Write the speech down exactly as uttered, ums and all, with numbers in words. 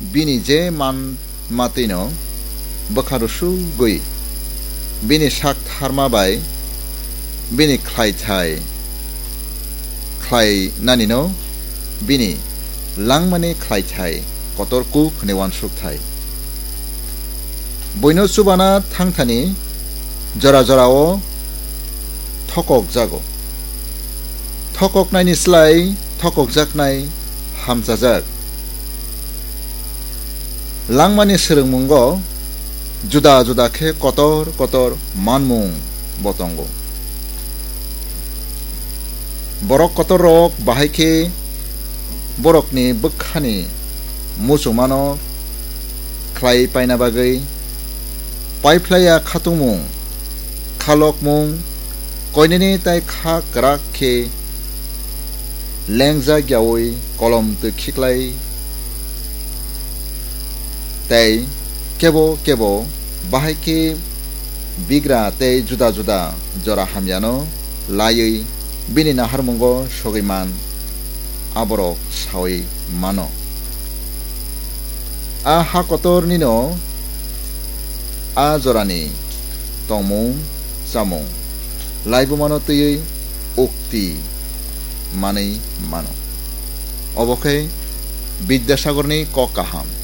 bini je man matwino bwkha rwsugwi bini sak tharma bai bini khlaithai khlainanino bini langmani khlaithai kotor kuk hwnwi uansuk thai. Buino chubana thangthani jora jorao thokokjago. Thokoknaini slai thokokjaknai hamchajak. Langmani swrwngmungo juda juda khe kotor kotor manmung bo tongo. Borok kotorrok bahai khe borokni bwkhani muchungmano khlai paina bagwi paiphlaiya khatungmung, khalokmung, koinene tai kha kwrak khe lengjak yaui kolom twi khiklai tei kebo kebo bahai khe bigra tei juda juda jora hamyano laiwi bini naharmungo sogwi man aborok saui mano. A ha kotornino a jorani tongmung chamung laibumano twiwi ukti manwi mano. Obo khe Bidyasagarni kok kaham.